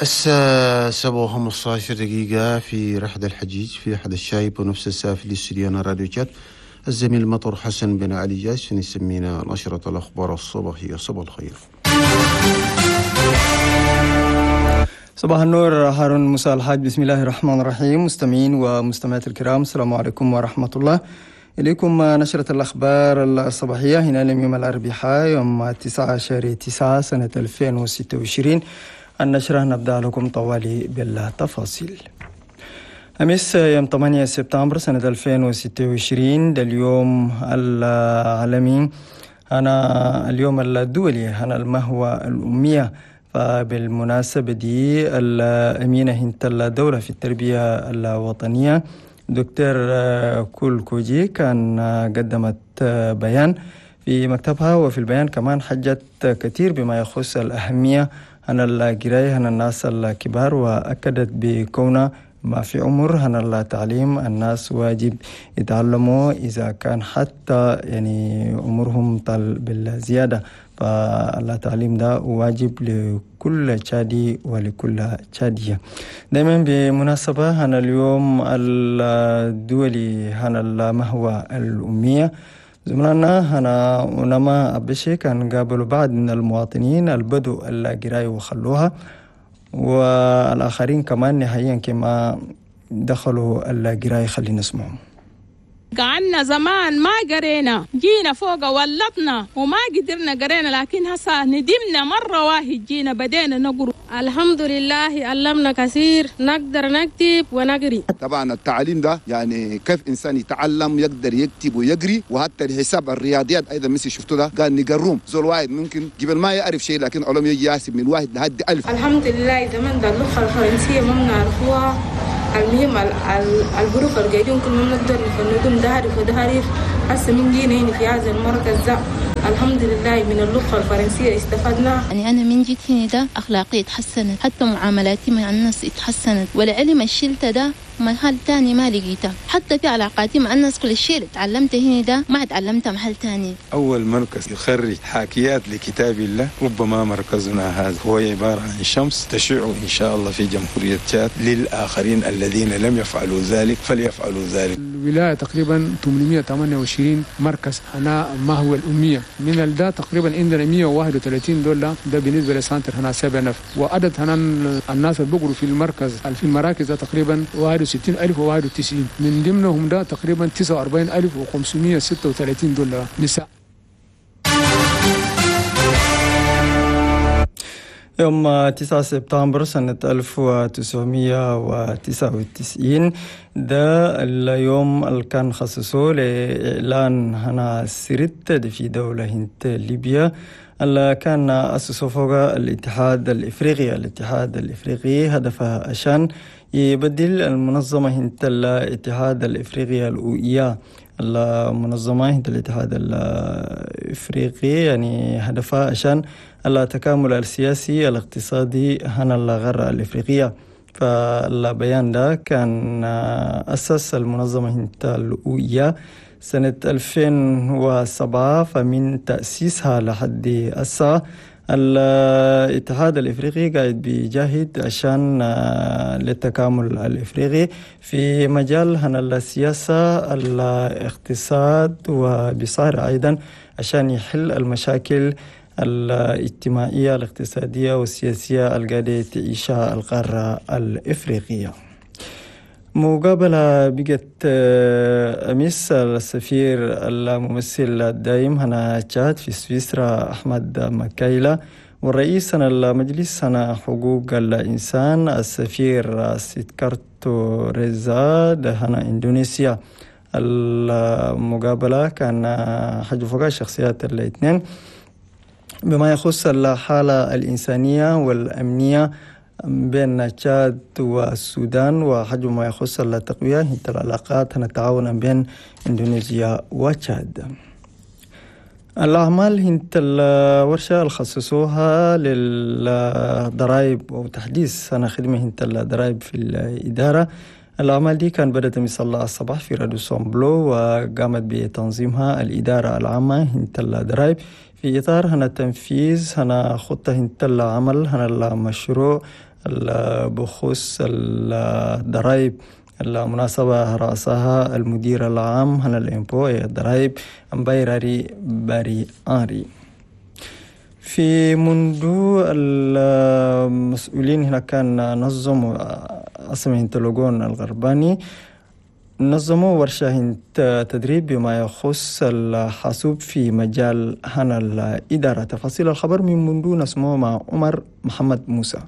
الساعة 7:15 في رحلة الحجيج في أحد الشايب ونفس الساعة في الاستوديو راديو تشاد الزميل مطر حسن بن علي جاس يسمينا نشرة الأخبار الصباحية. صباح الخير. صباح النور هارون موسى الحاج. بسم الله الرحمن الرحيم. مستمعين ومستمعات الكرام، السلام عليكم ورحمة الله. إليكم نشرة الأخبار الصباحية هنا اليوم الأربعاء يوم 9/9 سنة 2026. النشرة نبدأ لكم طوالي بالتفاصيل. أمس يوم 8 سبتمبر سنة 2026 ده اليوم العالمي، أنا اليوم الدولي أنا المهوى الأمية. فبالمناسبة دي الأمينة هنت الدولة في التربية الوطنية دكتور كول كوجي كان قدمت بيان في مكتبها، وفي البيان كمان حجت كثير بما يخص الأهمية عن القراية عن الناس الكبار، وأكدت بكون ما في عمر عن التعليم الناس واجب يتعلموا إذا كان حتى يعني عمرهم طال بالزيادة، فالتعليم ده واجب لكل تشادي ولكل تشادية. دائما بمناسبة هنا اليوم الدولي هنا المهوى الأمية، زملائنا هنا ونما أبشي كان قابلوا بعض من المواطنين البدو القراية وخلوها، والآخرين كمان نهائيا كما دخلوا القراية. خلينا نسمعهم. قعدنا زمان ما قرينا، جينا فوق ولطنا وما قدرنا قرينا، لكن هسا ندمنا مرة واحد جينا بدينا نقرأ. الحمد لله علمنا كثير، نقدر نكتب ونقري. طبعا التعليم ده يعني كيف إنسان يتعلم يقدر يكتب ويقري، وحتى الحساب الرياضيات أيضا مثل شفتوا ده قال نقروم زول واحد ممكن قبل ما يعرف شيء لكن علوم يجي يحسب من 1 لحد 1000. الحمد لله زمان ده اللغة الفرنسية ما بنعرفوها، المهم الحروف القاعدين كل ما بنقدر نفندهم ده حرف وده حرف. هسه من جينا هنا في هذا المركز ده الحمد لله من اللغة الفرنسية استفدنا. يعني أنا من جيت هنا ده أخلاقي اتحسنت، حتى معاملاتي مع الناس اتحسنت، والعلم الشلته ده محل تاني ما لقيته، حتى في علاقاتي مع الناس كل الشيء اللي تعلمته هنا ده ما تعلمته محل تاني. أول مركز يخرج حاكيات لكتاب الله ربما مركزنا هذا، هو عبارة عن شمس تشع إن شاء الله في جمهورية تشاد للآخرين الذين لم يفعلوا ذلك فليفعلوا ذلك. الولاية تقريبا 828 مركز هنا ما هو الأمية، من ده تقريبا عندنا 131 دولة ده بالنسبة لسانتر هنا 7 نفر، وعدد هنا الناس اللي بقروا في المركز في المراكز ده تقريبا 61,091، من ضمنهم ده تقريبا 49,536 دولار نساء. يوم 9 سبتمبر سنة 1999 ده اليوم اللي كان خصصوه لإعلان هنا سرت في دولة هنت ليبيا اللي كان أسسه فوق الاتحاد الإفريقي. الاتحاد الإفريقي هدفه عشان يبدل المنظمة هنت الاتحاد الإفريقي الأوئية. المنظمة هنت الاتحاد الإفريقي يعني هدفها عشان التكامل السياسي الاقتصادي هنا الغرة الإفريقية. فالبيان ده كان أسس المنظمة هنت الأوئية سنة 2007، فمن تأسيسها لحد الساعة الاتحاد الإفريقي قاعد بيجاهد عشان للتكامل الإفريقي في مجال هنا السياسة الاقتصاد، وبصار أيضا عشان يحل المشاكل الاجتماعية الاقتصادية والسياسية القاعدة تعيشها القارة الإفريقية. مقابلة بقت أمس السفير الممثل الدائم هنا تشاد في سويسرا أحمد مكايلة، والرئيس هنا المجلس هنا حقوق الإنسان السفير سيدكارتو ريزا هنا إندونيسيا. المقابلة كان حجوا فوق الشخصيات الاثنين بما يخص الحالة الإنسانية والأمنية بين تشاد والسودان، وحجم ما يخص التقوية العلاقات التعاون بين إندونيسيا وتشاد. الأعمال هنت الورشة الخصصوها للضرائب وتحديث سنة خدمة هنت الضرائب في الإدارة. الأعمال دي كان بدأت من الصباح في راديسون بلو، وقامت بتنظيمها الإدارة العامة هنت الضرائب في إطار هنا تنفيذ هنا خطة هنت العمل هنا المشروع بخصوص الضرائب. المناسبة رأسها المدير العام هنا ال impôts الضرائب أمبايراري باري آري. في منذ المسؤولين هنا كان نظموا أسمه لوغون الغرباني نظموا ورشة تدريب بما يخص الحاسوب في مجال هنا الإدارة. تفاصيل الخبر من منذ نسمعه مع عمر محمد موسى.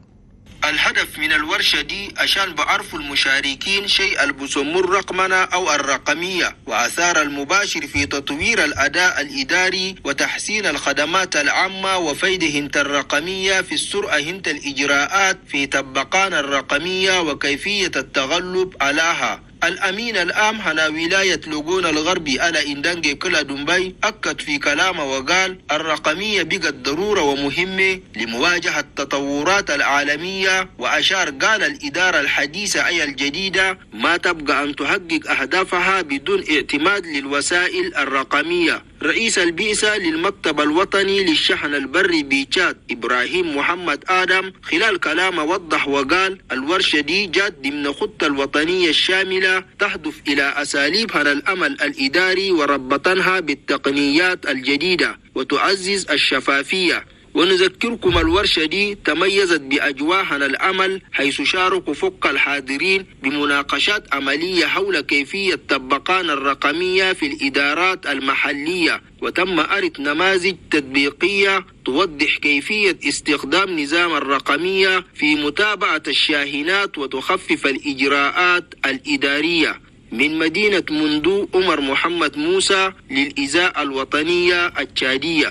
الهدف من الورشة دي عشان بعرفوا المشاركين شيء البسمو الرقمنة أو الرقمية وآثار المباشر في تطوير الأداء الإداري وتحسين الخدمات العامة وفيد هنت الرقمية في السرعة هنت الإجراءات في طبقان الرقمية وكيفية التغلب عليها. الأمين العام هنا ولاية لوغون الغربي على إندانجي كلا دنبي أكد في كلامه وقال الرقمية بقت ضرورة ومهمة لمواجهة التطورات العالمية، وأشار قال الإدارة الحديثة أي الجديدة ما تبقى أن تحقق أهدافها بدون اعتماد للوسائل الرقمية. رئيس البئسة للمكتب الوطني للشحن البري بتشاد إبراهيم محمد آدم خلال كلامه وضح وقال الورشة دي جات ضمن خطة الوطنية الشاملة تهدف إلى أساليب هذا الأمل الإداري وربطنها بالتقنيات الجديدة وتعزز الشفافية. ونذكركم الورشة دي تميزت بأجواء العمل حيث شاركوا فوق الحاضرين بمناقشات عملية حول كيفية طبقان الرقمية في الإدارات المحلية، وتم عرض نماذج تطبيقية توضح كيفية استخدام نظام الرقمية في متابعة الشاهنات وتخفف الإجراءات الإدارية. من مدينة مندو، عمر محمد موسى للإذاعة الوطنية التشادية.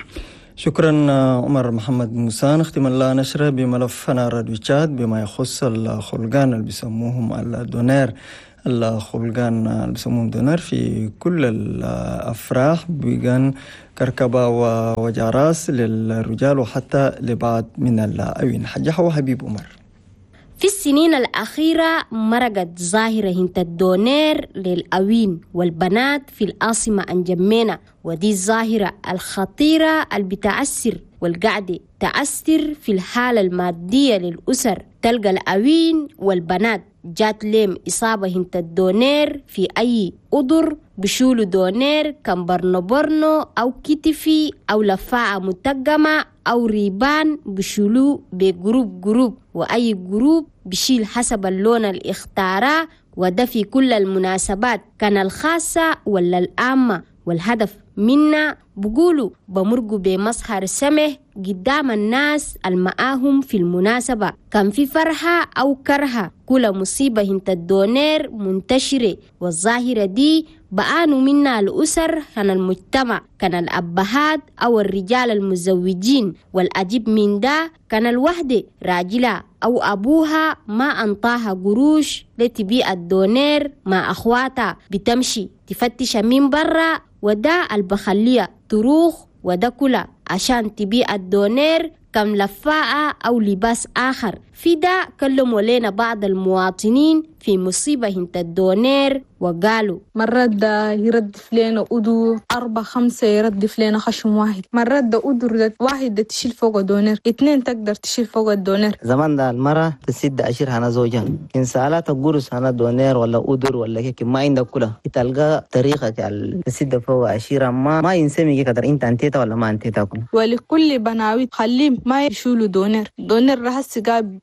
شكرا عمر محمد موسى. نختم الله نشره بملفنا راديو تشاد بما يخص الخلقان اللي بيسموهم ال donneur. الخلقان اللي بيسموهم donneur في كل الأفراح بيجان كركبة وجراس للرجال وحتى لبعض من الأوين. حجحة وحبيب عمر. في السنين الأخيرة مرقت ظاهرة هنت ال donneur للأوين والبنات في العاصمة أنجمينا، ودي الظاهرة الخطيرة اللي بتأثر والقعدة تأثر في الحالة المادية للأسر. تلقى الأوين والبنات جات لهم إصابة هنت ال donneur في أي أضر، بشولوا donneur كان برنو برنو أو كتفي أو لفاعة متقمة أو ريبان، بشولو ب groupe groupe، وأي groupe بشيل حسب اللون اللي اختاره، وده في كل المناسبات كان الخاصة ولا العامة. والهدف منا بقولوا بمرقوا بمظهر سمح قدام الناس المعاهم في المناسبة، كان في فرحة أو كرهة. كل مصيبة هنت ال donneur منتشرة، والظاهرة دي بقانوا منا الأسر كان المجتمع، كان الأبهات أو الرجال المزوجين. والأجيب من ده كان الوحدة راجلة أو أبوها ما أنطاها قروش لتبيع ال donneur مع أخواتها، بتمشي تفتش من برا، وده البخلية تروخ وده كله عشان تبيع ال donneur كم لفاعة أو لباس آخر. في ده كلموا لنا بعض المواطنين في مصيبة هنت ال donneur وقالوا مرات ده يردف لنا أدور 4 5 يردف لنا خشم واحد، مرات ده أدور ده واحد ده تشيل فوق donneur، 2 تقدر تشيل فوق ال donneur. زمان ده المرة تسد عشر هنا زوجها إن سألت قرص هنا donneur ولا أدور ولا كيك ما عندك كلها تلقى طريقة تسد فوق عشيرة ما ينسمي كده أنت أنتيتا ولا ما أنتيتا كله. ولكل بناوي خليهم ما يشيلوا donneur، donneur رح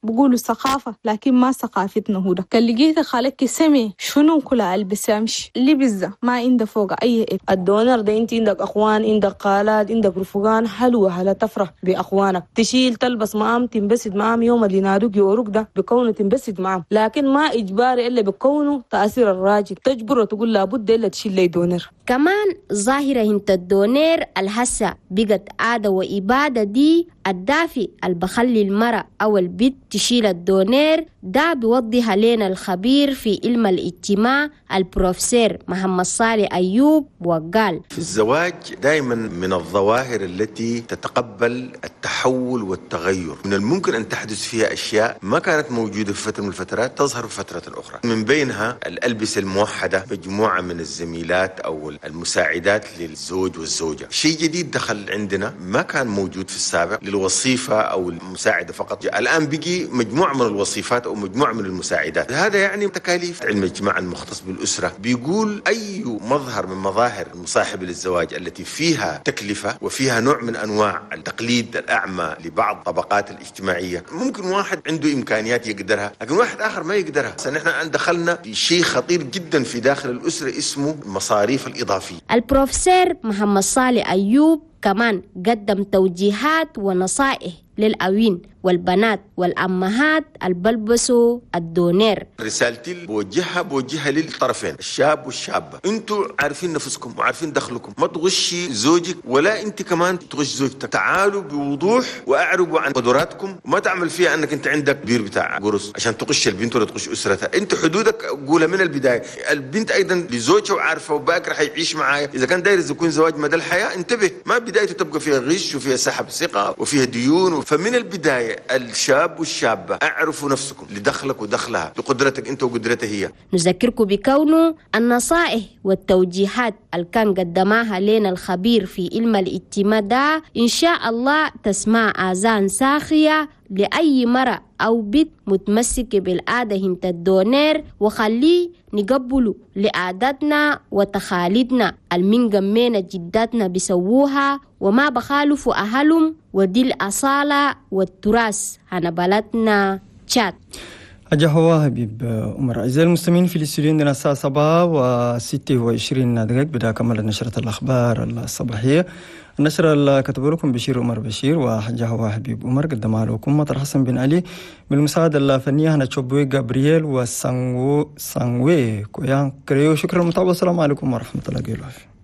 بقولوا ثقافة لكن ما ثقافتنا هو ده. كان لقيت خالك سمي شنو كل ألبس أمشي لبزة ما عنده فوق أي إيه. ال donneur ده أنت عندك أخوان، عندك خالات، عندك رفقان، حلوة هلا تفرح بأخوانك، تشيل تلبس معام تنبسط معام يوم اللي نادوك يوروك ده بكونه تنبسط معام، لكن ما إجباري إلا بكونه تأثير الراجل تجبره تقول لابد إلا تشيل لي donneur. كمان ظاهرة هنت ال donneur الهسة بقت عادة وإبادة دي الدافي البخلي المرأة أو البيت تشيل ال donneur ده بيوضح لنا الخبير في علم الاجتماع البروفيسور محمد صالح أيوب، وقال في الزواج دائما من الظواهر التي تتقبل التحول والتغير، من الممكن أن تحدث فيها أشياء ما كانت موجودة في فترة من الفترات تظهر في فترة أخرى، من بينها الألبسة الموحدة، مجموعة من الزميلات أو المساعدات للزوج والزوجة، شيء جديد دخل عندنا ما كان موجود في السابق للوظيفة أو المساعدة فقط، الآن بقي مجموعة من الوظيفات أو مجموعة من المساعدات، هذا يعني تكاليف. علم الاجتماع المختص بالأسرة بيقول أي مظهر من مظاهر المصاحبة للزواج التي فيها تكلفة وفيها نوع من أنواع التقليد الأعمى لبعض الطبقات الاجتماعية، ممكن واحد عنده إمكانيات يقدرها لكن واحد آخر ما يقدرها. نحن دخلنا في شيء خطير جدا في داخل الأسرة اسمه المصاريف الإضافية. البروفيسور محمد صالح أيوب كمان قدم توجيهات ونصائح للأوين والبنات والأمهات البلبسوا الدونير. رسالتي بوجهها للطرفين الشاب والشابة، انتوا عارفين نفسكم وعارفين دخلكم، ما تغشي زوجك ولا انت كمان تغش زوجتك، تعالوا بوضوح واعربوا عن قدراتكم، وما تعمل فيها انك انت عندك بير بتاع قرص عشان تغش البنت ولا تغش اسرتها، انت حدودك قولها من البداية. البنت ايضا لزوجها وعارفة وباكر حيعيش معايا، اذا كان داير يكون زواج مدى الحياة انتبه، ما بدايته تبقى فيها غش وفيها سحب ثقة وفيها ديون. فمن البداية الشاب والشابة اعرفوا نفسكم لدخلك ودخلها، لقدرتك انت وقدرتها هي. نذكركم بكونه النصائح والتوجيهات اللي كان قدماها لنا الخبير في علم الاجتماع ده إن شاء الله تسمع آذان ساخية لأي مرأة أو بنت متمسكة بالعادة هنت الدونير، وخليه نقبله لعاداتنا وتخاليدنا المنقمينا جداتنا بيسووها وما بخالفوا أهلهم، ودي الأصالة والتراث هنا بلدنا تشاد. أجا حبيب عمر. أعزائي المستمعين في الاستوديو عندنا الساعة 7:26 بدأ كمل نشرة الأخبار الصباحية. النشرة اللي كتب لكم بشير عمر بشير وحجة هو حبيب عمر، قدمها لكم مطر حسن بن علي بالمساعدة الفنية هنا تشوبوي جابرييل وسانغوي كويان كريو. شكرا للمتابعة، والسلام عليكم ورحمة الله وبركاته.